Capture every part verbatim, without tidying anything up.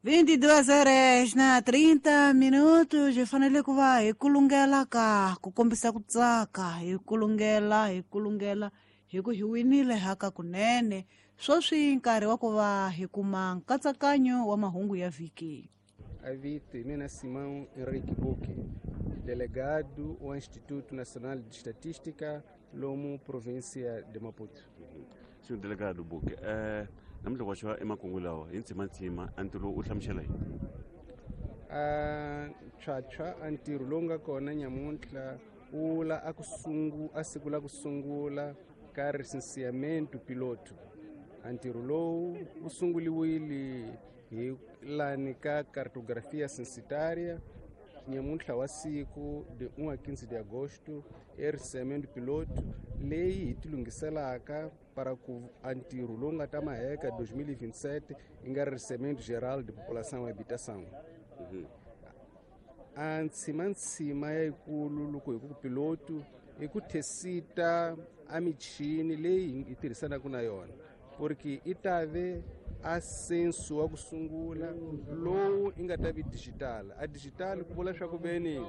vinte e duas horas na trinta minutos hi fanele ku va hi kulungela ka ku kombisa ku tsaka, hi kulungela hi kulungela hi ku hi winile haka kunene. Sweswi nkarhi wa ku va hi kuma nkatsakanyo wa mahungu ya vhiki. Avito hi mina Simão Henrique Buque, delegado ao Instituto Nacional de Estatística, lomu província de Maputo. Senhor delegado Buque, eh, namuntlha wa xava emakungu lawa hi ntsimantsima a ntirho u hlamusela yini? A tshwatshwa a ntirho lowu nga kona nyamuntlha wu la a ku sungu a siku la ku sungula ka recenseamento piloto. A ntirho lowu wu sunguliwile hi lani ka cartografia censitária nyamuntlha wa siku de um a quinze de agosto e recenseamento piloto leyi hi tilunghiselaka para ku a ntirho lowu nga ta maheka dois mil e vinte e sete yi nga recenseamento geral de população e habitação. A ntsimantsima yayikulu loko hi ku piloto i ku tesita a michini leyi hi tirhisanaka na yona, porque i ta ve a censo wa ku sungula lowu i nga ta vi digital. A digital ku vula swa ku veni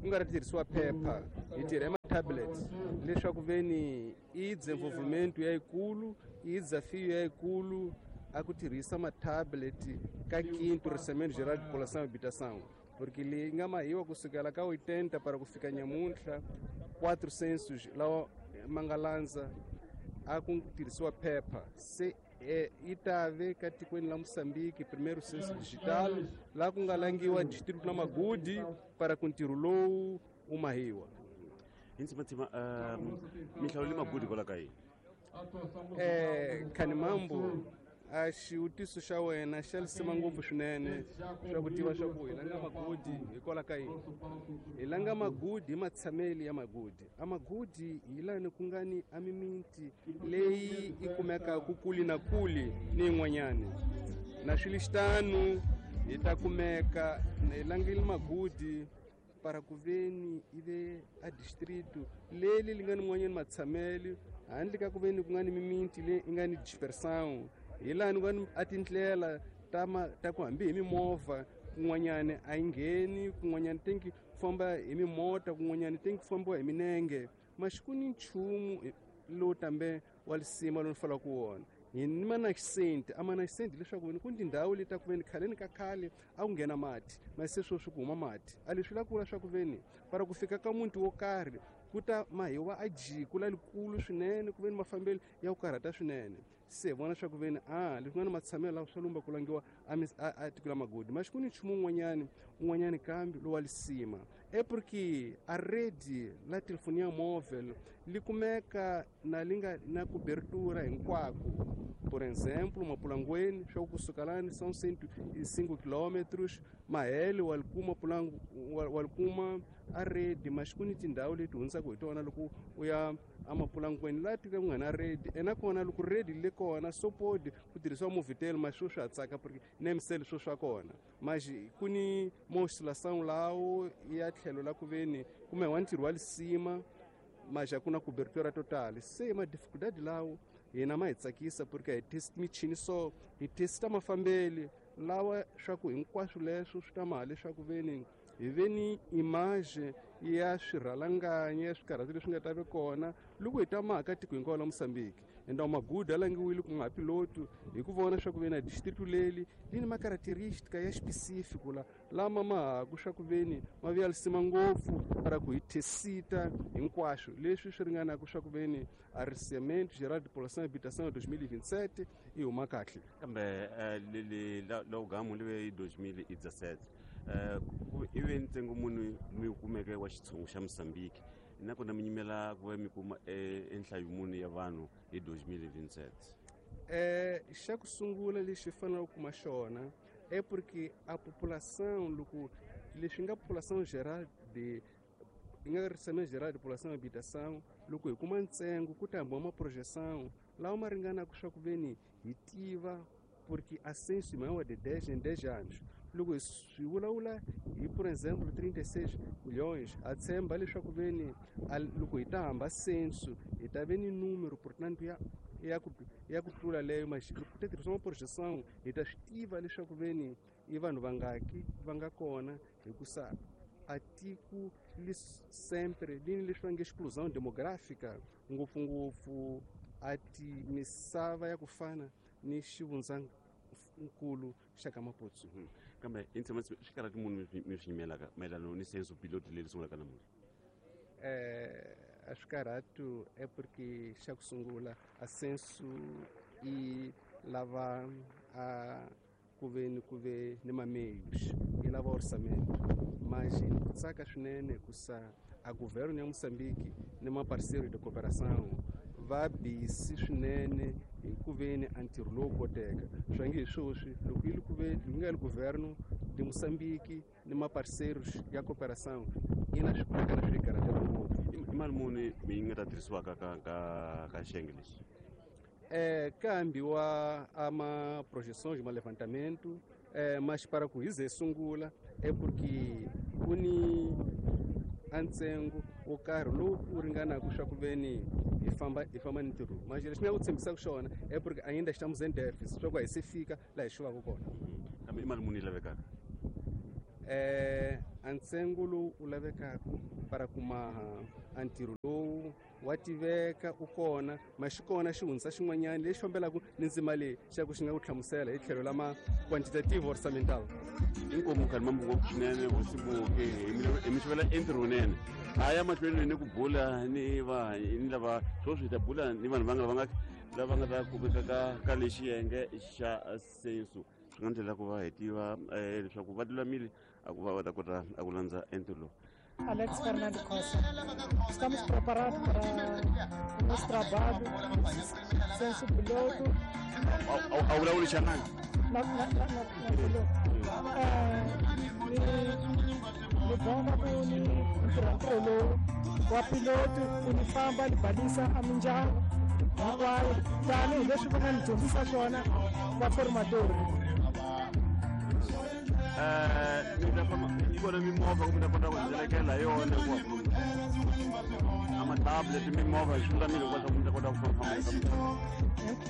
ku nga ri tirhisiwa phepha, hi tirha ma-tablets, leswaku veni i desenvolvimento yayikulu, i desafio yayikulu a ku tirhisa ma-tablet ka quinto recenseamento geral de população e habitação, porque leyi nga mahiwa kusukela ka oitenta para ku fika nyamuntlha quatro censos lawa ma nga landza a ku tirhisiwa phepha. Se eh, i ta ve ka tikweni la Moçambique primeiro censo digital laha ku nga langiwa distrito la Magudi para ku ntirho lowu wu mahiwa. Hi ntsimantsima, um, minhlawulo le Magudi kwala ka yini? Eh, Khanimambo, a xivutiso xa wena xa lisima ngopfu swinene swa ku tiva swa ku hi langa Magudi hikwalaho ka yini. Hi langa Magudi hi matshameli ya Magudi. A Magudi hi lani ku nga ni a mimiti leyi i kumekaka kuli na kuli ni yin'wanyani. Na swilixitano hi ta kumeka hi langile Magudi para ku veni i ve a distrito leli li nga ni n'wanyani matshameli handle ka ku veni ku nga ni mimiti leyi i nga ni dispersão. Hi lani ku nga ni a tindlela ta ma, ta ku hambi hi mimovha kun'wanyani a yi ngheni, kun'wanyani tenki ku famba hi mimota, kun'wanyani tenki ku fambiwa hi minenge. Maxi ku ni nchumu lowu tambe wa lisima lowu ni fanelaka ku wona. Hi ni manacent, a manacent leswaku ni ku ni tindhawu leti ta ku veni khaleni ka khale a ku nghena mati, masi se sweswi ku huma mati. A leswi la ku vula swa ku veni para ku fika ka muti wo karhi ku ta mahiwa a jiko la likulu swinene, ku veni mafambelo ya ku karhata swinene. Se vona swa ku veni a leswi nga na matshamelo lawa swa lumba ku langiwa a mis-, a, a tiko la Magudi. Maxi ku ni nchumu wun'wanyani, wun'wanyani kambe lowa lisima e porque a rede la telefonia móvel li kumeka na li nga na cobertura hinkwako. Por exemplo, Mapulangweni swa ku kusuka lani são cento e cinco quilômetros, Mahele wa likuma Pulangu, wa, wa likuma a rede, mas ku ni tindhawu leti hundzaka hi tona loko u ya a Mapulangweni laha tiko ku nga na rede. Ena kona loko rede le kona sopodi ku tirhisiwa Movitel, mas swo swa ha tsaka porque Nemcell swo swa kona. Mas ku ni oscilação lawo ya tlhelo la ku veni kumbe wa ntirho wa lisima, mas a ku na cobertura total. Se ma dificuldade lawo hina ma hi tsakisa porque hi test michini so hi testa mafambeli lawa swa ku hinkwaswo leswo swi ta maha leswaku veni hi ve ni image ya swirhalanganya ya swikarhati leswi nga ta ve kona loko hi ta maha ka tiko hinkwaro la Moçambique. Enda Magudi a langiwile ku nga piloto hi ku vona swa ku veni a distrito leli li ni macaracterística ya específico la lama ma haku swa ku veni ma vuya lisima ngopfu para ku hi tesita hinkwaswo leswi swi ringanaka swa ku veni a recenseamento geral de população e habitação dois mil e vinte e sete i huma kahle. Kambe, eh, leli la, la ugamu li ve hi dois mil e dezessete. Eh, ku i ve ntsengo muni mi kumeke wa xitshungu xa Moçambique nakona mi nyimela ku va mi kuma, eh, enhlayo muni ya vanhu hi dois mil e vinte e sete? Eh, xa ku sungula lexi hi faneleke ku kuma xona é porque a população loko leswi nga população geral de yi nga recenseamento geral de população e habitação, loko hi kuma ntsengo ku ta hambiwa ma projeção lawa ma ringanaka swa ku veni hi tiva porque a censo i maior de dez em dez anos. Loko hi swi vulavula hi por exemplo trinta e seis milhões, a tshemba leswaku veni a loko hi ta hamba censo hi ta ve ni número portanto ya ya ku ya ku tlula leyo, mas loko ku ta tirhisiwa ma projeção hi ta swi tiva leswaku veni i vanhu vangaki va nga kona hikusa a tiko li sempre li ni leswi va nge exclusão demográfica ngopfungopfu a ti misava ya ku fana ni xivundzankulu xa ka Maputsu. Kambe i ntshema swi karhati munhu mi swi nyimelaka mayelana ni censo piloto leri sungulaka namuntlha? Eh, a swi karhatu é porque xa ku sungula a censo i lava a ku ve ni ku ve ni mameios i lava orçamento, mas ni ku tsaka swinene hikusa a governo ya Moçambique ni maparceiro de cooperação va busy swinene hi ku ve ni a ntirho lowu koteka. Swa nge hi sweswi loko yi li ku ve loko nga li governo de Moçambique ni maparceiros ya cooperação yi na swi na swi karhatela ngopfu. I mali muni yi nga ta tirhisiwaka ka ka ka xiyenge lexi? É, câmbio a, a uma projeções, uma levantamento, é, mas para ku hize sungula é porque ku ni a ntsengo wo karhi lowu wu ringanaka swa ku ve ni hi famba hi famba ni ntirho, mas lexi ni nga ku tshembisaka xona é porque ainda estamos em déficit, swa ku a hi se fika laha hi xuvaka kona. Kambe i mali muni yi lavekaka? É, a ntsengo lowu wu lavekaka para ku maha a ntirho lowu wa tiveka u kona, ma xi kona xihundza xin'wanyana lexi fambelaka ni ndzima leyi xa ku xi nga ku hlamusela hi tlhelo lama quantitative orçamental. Inkomu khani mambu ngopfu swinene hosi Muke, hi mi xivela entirho wunene. A ya mahlweni ni ku bula ni va ni lava sweswi hi ta bula ni vanhu va nga va nga lava nga ta kumeka ka ka lexi xiyenge xa censo. Swi nga ndlela ku va hi tiva leswaku va lulamile a ku va va ta kota a ku landza entirho lowu. Alex Fernando Costa. Estamos preparados para o nosso trabalho, censo piloto. A vulavuli xangani? Na, na, na, na, na piloto. Ni bomba ku ni ntirho ntirho lowu wa piloto ku ni famba ni balisa a mindyangu hinkwayo tanihileswi va nga ni dyondzisa swona va formatori. Eh, mi ta famba yi kona mimovha ku mi ta kota ku helekela hi yona hikuva a ma-tablet mimovha swi lulamile hinkwaswo ku mi ta kota ku famba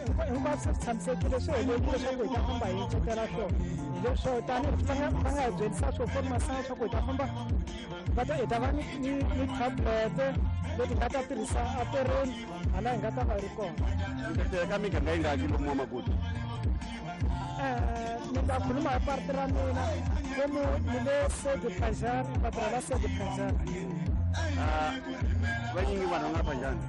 famba hinkwaswo swi tshamisekile swi helekile swa ku hi ta famba hi cetela swona hi leswo tanihi va nga va nga hi byelisa swo formation swa ku hi ta famba va ta hi ta va ni ni ni tablet leti nga ta tirhisa atirheni hala hi nga ta va hi ri kona. Mi ta teka miganga yi ngaki lomu wa Magudu? Ni ta khuluma hi parti ra mina lomu ni le Sede Pajani, va tirhela Sede Pajani. Vanyingi vanhu va nga Pajani?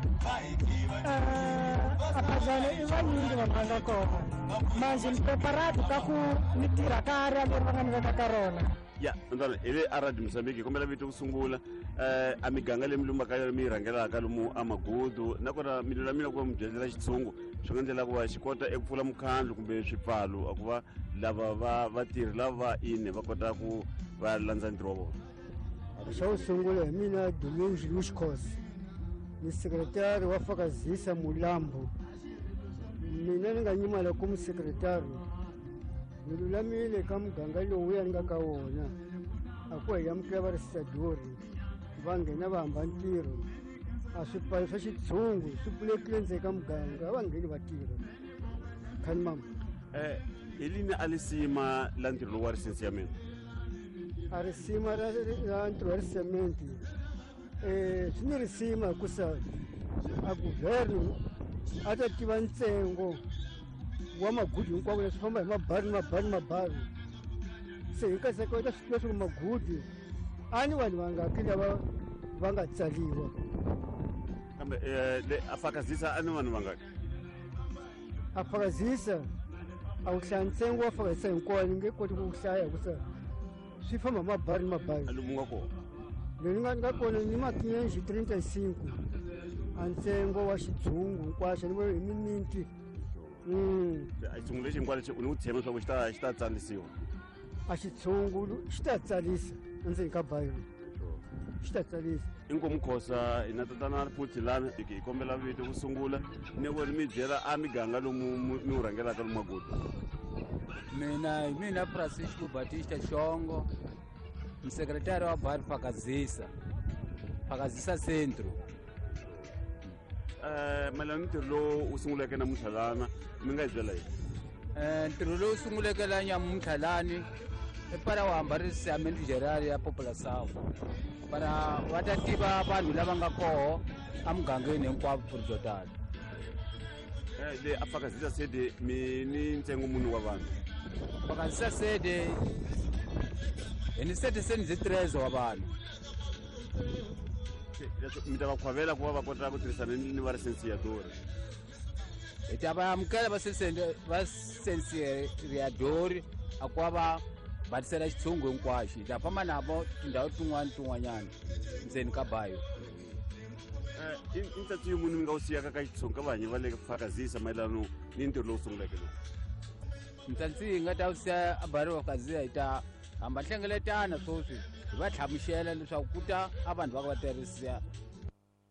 A Pajani i vanyingi vanhu va nga kona manjhe ni preparado ka ku ni tirha ka area leri va nga ni veka ka rona. Ya ntswana hi le a Radio Mozambique hi kombela vito ku sungula um a miganga leyi mi lumbaka yona mi yi rhangelaka lomu a Magudu nakona mi lulamile ku va mi byelela xitshungu swi nga ndlela ku va xi kota eku pfula mukhandlu kumbe swipfalo a ku va lava va vatirhi lava ine va kota ku va landza ntirho wa vona. Xa ku sungula hi mina Domingos Luis Khosa, ni sekretari wa Fakazisa Mulambo. Mina ni nga nyimala ku musekretari ni lulamile ka muganga lowuya ni nga ka wona a ku hi amukela va risadori va nghena va hamba ntirho a swipfalo swa xitshungu swi pfulekile ndzeni ka muganga a va ngheni va tirha. Khani mama um hi lini a lisima la ntirho lowu wa risense ya mina? A risima ra ra ntirho wa risementi um swi ni risima hikusa a governo a ta tiva ntsengo wa Magudu hinkwavo leswi famba hi mabari ni mabari ni mabari se hi nkaseko va ta swi tiva swa ku Magudu a ni vanhu vangaki lava va nga tsaliwa. Kambe um le a Fakazisa a ni vanhu vangaki? A Fakazisa a wu hlaya ntsengo wa Fakazisa hinkwawo ni nge koti ku wu hlaya hikusa swi famba hi mabari ni mabari. Lomu nga kona? Leyi ni nga ni nga kona ni ma quinhentos e trinta e cinco a ntsengo wa xitshungu hinkwaxo ni vona hi miniti. Xitshungu lexi hinkwaxo lexi u ni ku tshemba leswaku xi ta xi ta tsalisiwa? A xitshungu xi ta tsalisa endzeni ka bayiro xi ta tsalisa. Inkomu Khosa hi na tatana futhi lana hi kombela vito ku sungula ni ku mi byela a miganga lomu mi wu rhangelaka lomu Magudu. Mina hi mina Francisco Batista Xongo, musekretari wa Bar Fakazisa, Fakazisa Centro. Um mayelana ni ntirho lowu wu sunguleke namuntlha lana mi nga hi byela yini? Ntirho lowu sunguleke la nyamuntlha lani i para wu hambarisisa geral ya população para va ta tiva vanhu lava nga koho emugangeni hinkwavo Purjotala. Le a Fakazisa sede mi ni ntsengo muni wa vanhu? Fakazisa sede hi ni setecentos e treze wa vanhu. Mi ta va khwavela ku va va kota ku tirhisana ni va licenciador? Hi ta va amukela va va licenciador a ku va va batisela xitshungu hinkwaxo. Hi ta famba navo tindhawu tin'wana tin'wanyana ndzeni ka bayo. I ntsatsi munhu mi nga wu siyaka ka xitshungu ka vahanyi va le Fakazisa mayelano ni ntirho lowu sunguleke lowu? Ntsatsi hi nga ta wu siya a bari wa Fakazisa, hi ta hamba hlengeletana sweswi hi va hlamusela leswaku ku ta a vanhu va ka va tirhisa